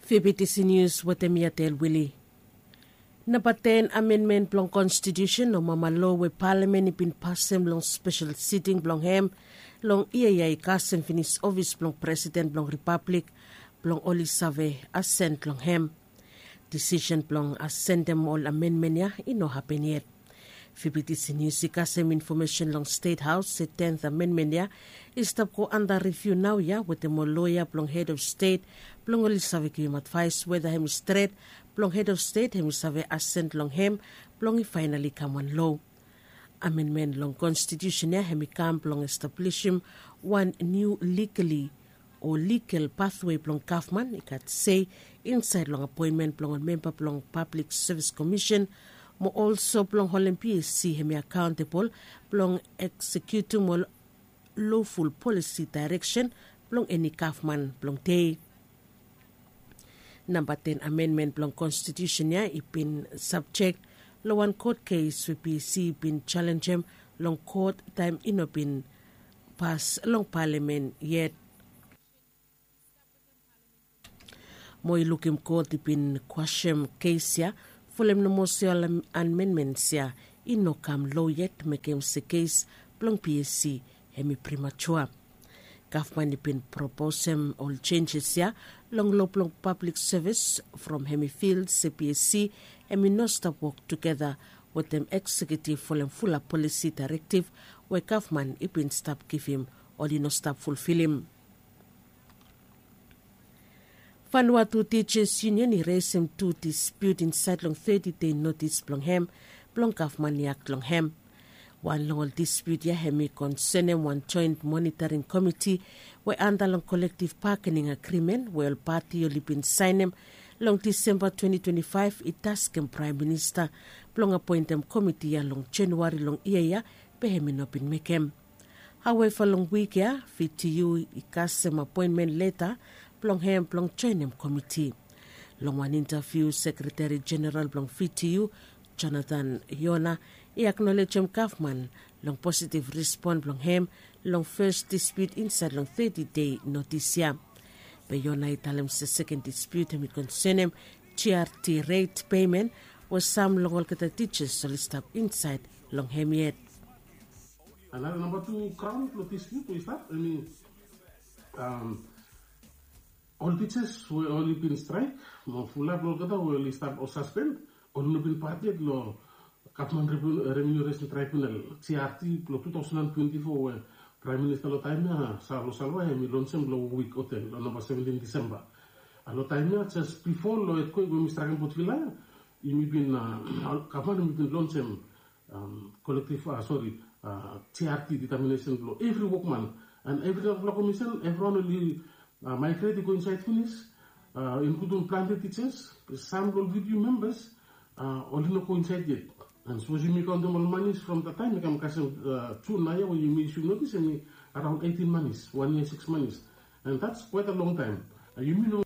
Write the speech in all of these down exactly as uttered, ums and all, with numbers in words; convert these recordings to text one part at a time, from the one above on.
Fibitisi nius wetem yatel wili. Namba ten amenmen blong konstitusen o mama lo we palamen i bin pasem long spesel siting blong hem long yia ya i kasem finis ofis blong presiden blong ripablik blong oli save asen long hem. Disisen blong asendem ol amenmen ya i no hapen yet. Fibitisi nius i kasem infomesen long stet haos se tenth amenmen ya i stap go anda riviu nao ya wetem ol loya blong hed of stet blong oli save givim advaes weda hem i stret blong hed of stet hem i save asen long hem blong i faenali kam wan lo. Amenmen long konstitusen ya hem i kam blong establisim wan niu likali o ligal pathwe blong gavman i gat sei insaed long apoenmen blong ol memba blong pablik sevis komisen mo olso blong holem psc hem i akaontebol blong eksekiutim ol loful polisi daereksen blong eni gavman blong dei. Namba ten amenmen blong konstitusen ya i bin sabjek long wan kot kes we psc i bin jalenjem long kot taem i no bin pas long palamen yet. Mo i lukim kot i bin kwasem kes ya folem nomo se ol amenmens ya i no kam lo yet mekem se kes blong psc hem i primatua. Gavman i bin proposem ol jenjes ya long lo blong pablik sevis from hem i fil se psc hem i no stap wok tugeta wetem eksekiutiv folem fulap polisi daerektiv we gavman i bin stap givim oli no stap fulfilim. Vanuatu Tijas Yunion i resem tu dispiut insaed long teti dei notis blong hem blong gavman i akt long hem. Wan long ol dispiut ya hem i konsenem wan joen monitaring komiti we anda long kolektiv bakening agrimen we ol pati oli bin saenem long disemba twenti twenti faef i taskem praem minista blong apoentem komiti ya long januari long yia ya be hem i no bin mekem. Haueva long wik ya vtu i kasem apoenmen leta blong hem blong joenem komiti. Long wan intaviu sekreteri jeneral blong vtu jonathan yona i aknolejem gavman long positiv rispon blong hem long fes dispiut insaed long teti dei notis ya. Be yona i talem se seken dispiut hem i konsenem jrt ret pemen we sam long olgeta tijas oli stap insaed long hem yet. Another number two crown lo dispute we i stap, I mean, um, ol teachers we oli bin strike mo fulap lo olgeta we oli stap o suspend, oli no bin part yet lo gavman remuneration tribunal, grt, lo two thousand and twenty-four we prime minister lo taem ya salo salwa hem i lonsem lo wik hotel lo namba seventeen disemba. Lo taem ya jes bifo lo etkwek we mi strakem botvila ya, yumi bin gavman yumi bin lonsem kolektiv, sori, jrt determinesen blong evri wokman. And evri narafala komisen evriwan oli maigret i go insaed finis, inkludim plante tijas. Sam blong video members oli no go insaed yet. And sapos yumi kaontem ol manis from dat taem i kam kasem jun naoia we yumi isum notis, em i araon eighteen manis, wan yia six manis. And dats kwaet a long taem. Yumi no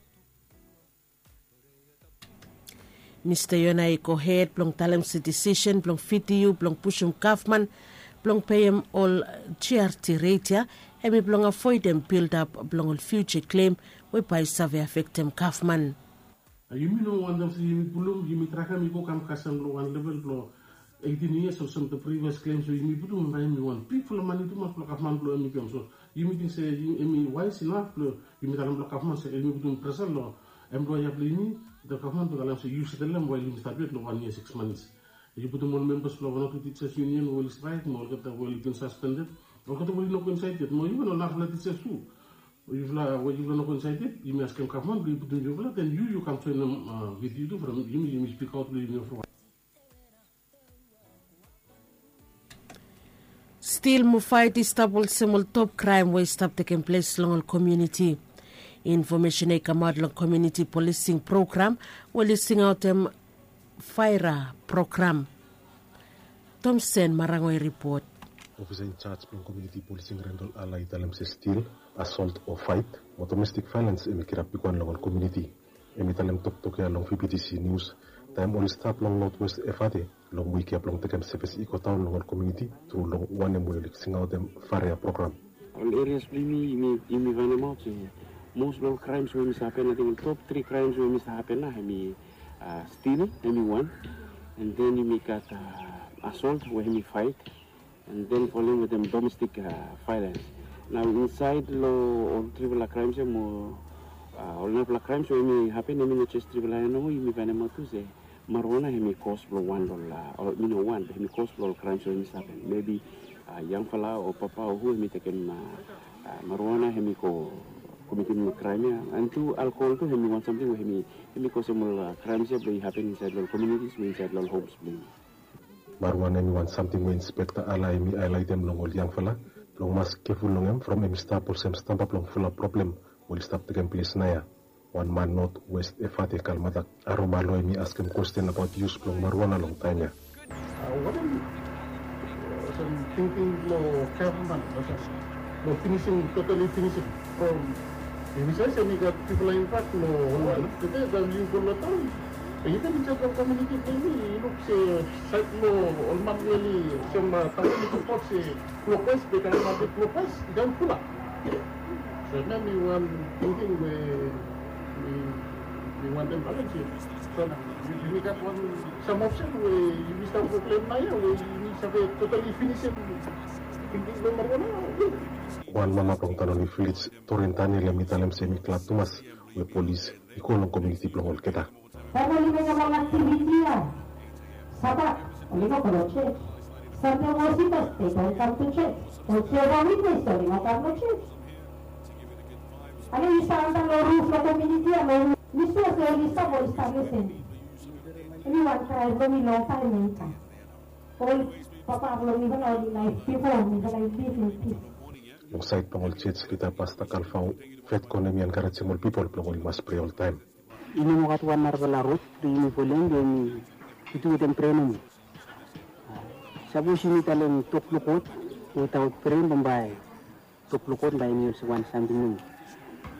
Mista Yona i gohed blong talem se disisen blong fiti yu blong pusum gavman blong peim ol jrt ret ya hem i blong avoedem bildap blong ol fiuja klem we bae i save afektem gavman. Yumi no wantem se yumi pulum, yumi trakem i go kam kasem long wan level blong eighteen years olsem the previous claim. So yumi putum em bae em i wan bigfala mane tumas blong gavman blong em i givim. So yumi ting se em i wise inaf blong yumi talem long gavman se em i putum presa long employer blong yumi. The gavman blong talem se yu setelem wael yumi stap yet long wan yia six months. Yu putum ol members blong wan o tu teachers union we oli straik mo olgeta we oli bin suspended, olgeta we oli no go insaed yet, mo yufala ol narafala teachers tu. Yufala we yufala no go insaed yet, yumi askem gavman blong i putum yufala, then yu yu kam joinim with yu tu from yumi, yumi spikaot long yumi olgeta. Stil mo faet i stap olsem ol top kraem we i stap tekem ples long ol komuniti. Infomesen ya i kamaot long komuniti polising program we oli singaotem faera program. Tomsen Marango i ripot. Ofisa injaj blong komuniti polising Rendol Ala i talem se stil, asolt o faet mo domestik vaelens hem i kirap bigwan long ol komuniti. Hem i talem toktok ya long V B T C Nius taem oli stap long Notwest Efate long wik ya blong tekem sevis i go daon long ol komuniti tru long wanem we oli singaotem faria program. Ol erias blong yumi, yumi faenemaot se Most blong ol crimes we hemi stap happen, ating ol top tri crimes we hemi stap happen nao hemi stil, hemi wan. And then yumi gat assault we hemi fight. And then folem wetem domestic violence. Nao insaed long ol trifala crimes ia mo ol narafala crimes we hemi hapen, hemi no jes trifala ia nomo, yumi faenemaot tu se marijuana hemi kos blong wan long ol, mi no wan, hemi kos blong ol crimes we hemi stap hapen. Mebi yangfala o papa o hu hemi tekem marijuana hemi go komitim crime ia. And tu alcohol tu hemi wan samting we hemi kosem ol crimes ia blong i hapen insaed long ol communities mo insaed long ol homes blong yumi. Marijuana hemi wan samting we Inspekta Ala hemi haelaetem long ol yangfala blong mas keful long hem from hemi stap olsem stamba blong fulap problem we oli stap tekem ples naoia. Wan man North West Efate Kalmatak Aromalo hemi askem kwesten abaot yus blong marijuana long taem ia. Wanem olsem tingting blong gavman olsem blong finisim, totali finisim from hemi save se hemi gat trifala impak long ol man. Tede taem yu go long taon, yu ken insaed long komuniti blong yumi, yu luk se saed long ol man we oli olsem taon i sipot se klokwaes, be taem i maket klokwaes i kam fulap. So hemia hemi wan tingting we mi wantem balansim. So yumi gat wan sam opsen we yumi stap go klem naoia we yumi save totali finisim tingting blong marijuana. Wan mama blong Tanoli Vilej, Torin Daniel, hemi talem se hemi glad tumas we polis i go long komuniti blong olgeta. Taem oli mekem ol aktiviti ia, Sabat oli no go long jos. Sande, Mosisi, they don't come to church. Ol Jehovah Witness oli no kam long jos. Ale yu stap antap long ruf long komuniti ia, long mi sua se oli stap, oli stap lesen. Hemi wan krae blong mi longtaem ya i kam. Ol papa blong mifala oli laef bifo mifala i liv in pis. Long saed blong ol jos lida, Pasta Kalfao Fetcon hemi enkarejem ol pipol blong oli mas prea oltaem. I no moa gat wan narafala rod blong yumi folem, be yumi tu wetem prea nomo. Sapos yumi talem tok blong God wetaot prea, bambae tok blong God bae hemi olsem wan samting nomo.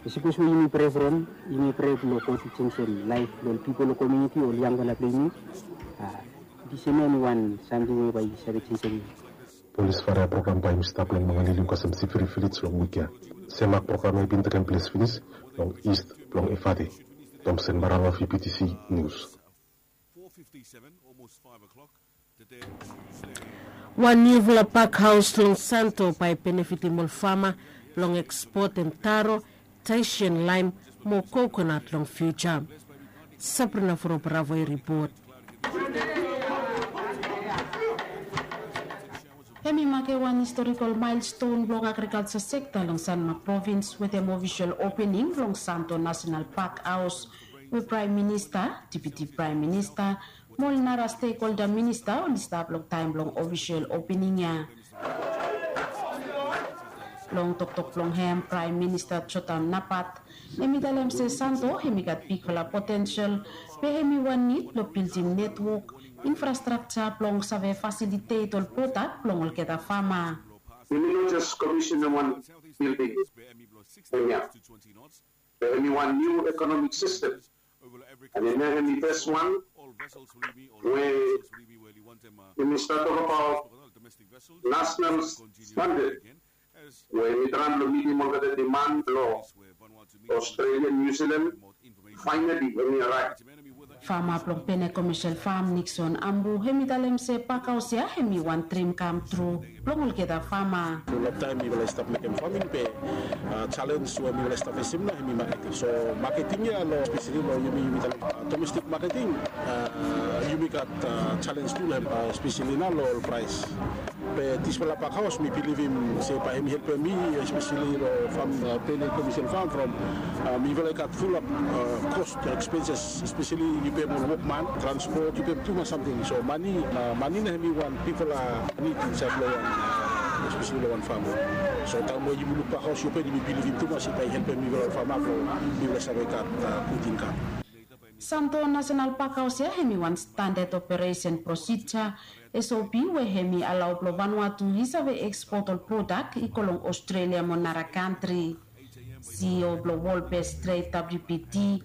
Be sapos we yumi prea from, yumi prea blong God i jenisim laef blong ol pipol long komuniti o ol yangfala blong yumi. Disem ya hemi wan samting we bae i save jenisim. Polis Faea program bae i stap long Mangalili, Nkwaseem, Siviri Vilej long wik ya. Semak program ya i bin tekem ples finis long ist blong Efate. Thomson Marama, V P T C News. Wan niufala pakhaos long Santo bae i benefitim ol fama blong ekspotem taro, Tahitian lime mo kokonat long fiuja. Sabrina Forobravo i ripot. Hemi makem wan historikol maelston blong agrikalja sekta long Sanmak provins wetem ofisol opening blong Santo Nasenal Pakhaos, we Praem Minista, Deputi Praem Minista mo ol nara stekholda minista oli stap long taem blong ofisol opening ya. Long toktok blong hem, Praem Minista Jotham Napat hemi talem se Santo hemi gat bigfala potensel, be hemi wan nid blong bildim netwok infrastrakja blong save fasilitet ol prodak blong olgeta fama. Yumi no jes komisenem wan bilding hemia. Be hemi wan niu ekonomik sistem. And hemia hemi fes wan we yumi stap tok abaot nasenal standad we hemi traem blong mitim olgeta diman blong Australia, New Zealand. Finally hemi araev. Fama blong Pene Commercial Farm, Nixon Ambu, hemi talem se pakhaos ya hemi wan drim kam tru blong olgeta fama. Long taem mifala i stap mekem faming, be jalens we mifala i stap fesem nao hemi maketing. So maketing ya long, espeseli long yumi, yumi talem domestik maketing, yumi gat jalens tu long hem, espeseli nao long ol praes. Be disfala pakhaos mi bilivim se bae hemi helpem mi, espeseli long fam, Pene Commercial Farm, from mifala i gat fulap kos, ekspenses, espeseli yu pem ol wokman, transpot, yu pem tumas samting. So mane, mane nao hemi wan bigfala nid insaed long wan, espeseli long wan fam. So taem we yumi luk pakhaos ya, yumi bilivim tumas se bae i helpem mifala ol fama blong mifala save gat gud inkam. Santo Nasenal Pakhaos ya hemi wan standad operesen prosija, S O P, we hemi alao blong Vanuatu i save ekspot ol prodak i go long Australia mo nara kantri. C E O blong World Best Trade, W B T,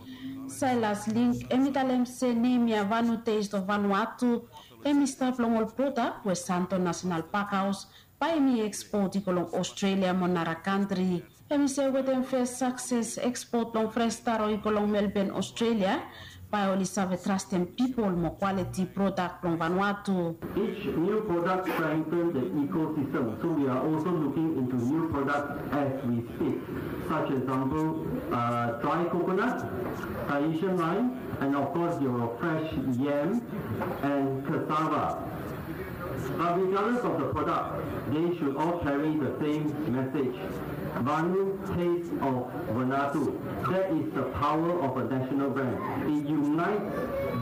Silas Link, hemi talem se nem ya Vanu Taste of Vanuatu hemi stap long ol prodak we Santo Nasenal Pakhaos bae hemi ekspot i go long Australia mo nara kantri. Hem i se wetem fes sakses ekspot blong fres taro i go long Melbourne, Australia, bae oli save trastem pipol mo kwaliti prodak blong Vanuatu. Each new product strengthen the ecosystem, so we are also looking into new products as we speak, such example, uh, dry coconut, Tahitian lime, and of course your fresh yam and cassava. But regardless of the product, they should all carry the same message. Vanu, taste of Vanuatu. That is the power of a national brand. It unites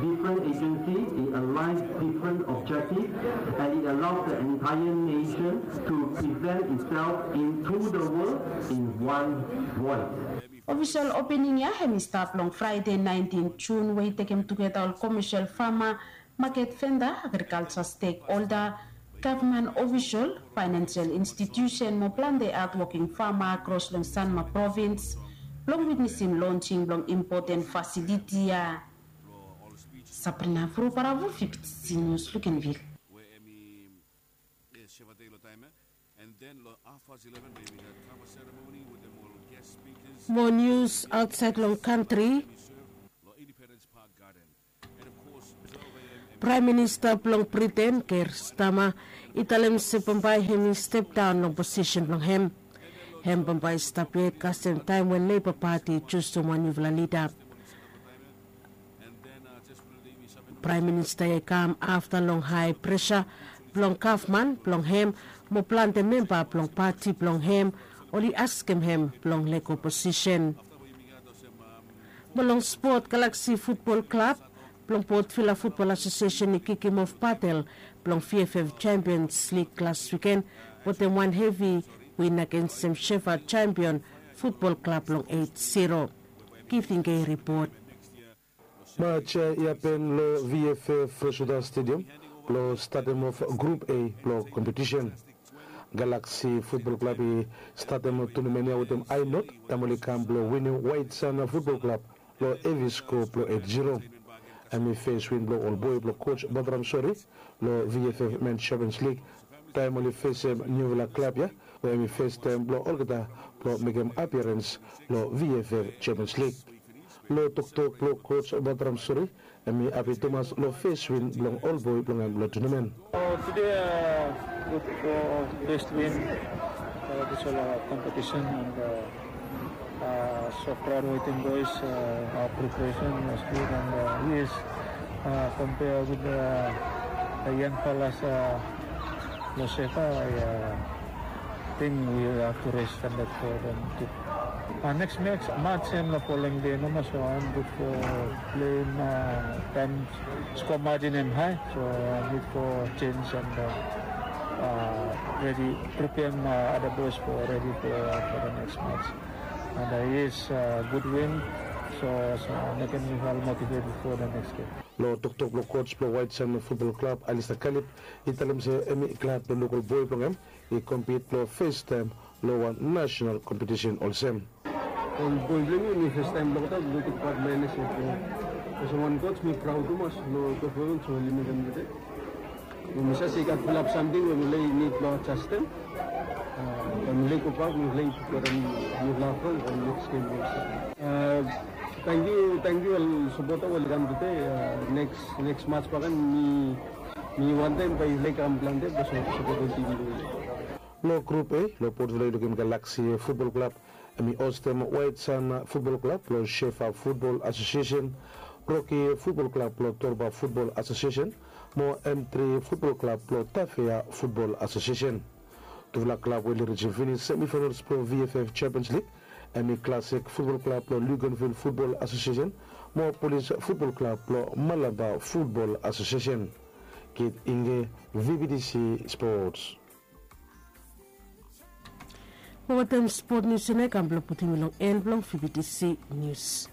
different agencies, it aligns different objectives, and it allows the entire nation to present itself into the world in one voice. Ofisol opening ya hem i stap long Fraede naentin Jun, we i tekem tugeta ol komesel fama, maket venda, agrikalja stekholda, gavman ofisol, faenensel institusen mo plante hatwoking fama kros long Sanma provins blong witnesim lonsing blong impoten fasiliti ya. Sabrina Vruparavo, V B T C News, Luganville. Mo nius aotsaed long kantri. Praem Minista blong Briten, Keir Starmer, i talem se bambae hem i stepdaon long posisen blong hem. Hem bambae i stap yet kasem taem we Leiba Pati i jusum wan niufala lida. Praem Minista ya i kam afta long hae presa blong gavman blong hem mo plante memba blong pati blong hem oli askem hem blong lego posisen. Mo long spot, Galaksi Futbol Klab blong Port Vila Futbol Asosiesen i kikim of batel blong VFF Champions League las wiken wetem wan hevi win agensem Shefa Champion Futbol Klab long eit zero. Giving a ripot. Mats ya i hapen long VFF Freswater Stadium blong statem of Grup A blong kompetisen. Galaksi Futbol Klab i statem tonamen ya wetem ae not taem oli kam blong winim Waet San Futbol Klab long hevi sko blong eit zero. Hem i fes win blong ol boe blong koj Batram Sori long VFF Men Champions League taem oli fesem niufala klab ya, we hem i fes taem blong olgeta blong mekem apiarens long VFF Champions League. Long toktok blong koj Batram Sori, hem i hapi tumas long fes win blong ol boe blong hem long tonamen. Today, uh, good for first win. Uh, this all our competition and, uh, uh, so proud waiting boys. Uh, our preparation was good and, uh, yes, uh, compare with the, the young fellas, uh, Losefa, I, uh, think we have to rest and let go them to. Uh, next match, match in the following day, no mas, so I'm good for playing, uh, time score margin and high, so I need for change and, uh, uh, ready, prepare, uh, other boys for ready for, for the next match. And, uh, yes, uh, good win, so, so making me well motivated for the next game. Long toktok blong koj blong Waet San Futbol Klab, Alistair Kalib, i talem se hem i glad blong luk ol boe blong hem i kompit blong fes taem long wan nasenal kompetisen olsem. Ol boe blong mi, mi fes taem blong olgeta blong tek pat long NSF. Olsem wan koj mi praod tumas long performans we oli mekem tede. Mi save se i gat fulap samting we mifala i nid blong adjastem. Taem mifala i gobak, mifala i givim nifala afront long next game olsem. Tangkiu, tangkiu ol sapota we oli kam tede. Neks, neks mats bakegen mi, mi wantem bae i laik kam plante blong sapotem tim blong wi. Long Grup A, long Port Vila i lukim Galaksi Futbol Klab hem i hostem Waet San Futbol Klab blong Shefa Futbol Asosiesen, Roki Futbol Klab blong Torba Futbol Asosiesen mo M tri Futbol Klab blong Tafea Futbol Asosiesen. Tufala klab we oli rijim finis semifainals blong VFF Champions League hem i Classic Futbol Klab blong Luganville Futbol Asosiesen mo Polis Futbol Klab blong Malaba Futbol Asosiesen. Kit Inge, VBTC Sports. Mo wetem spot nius ya nao i kam blong putum mi long en blong VBTC Nius.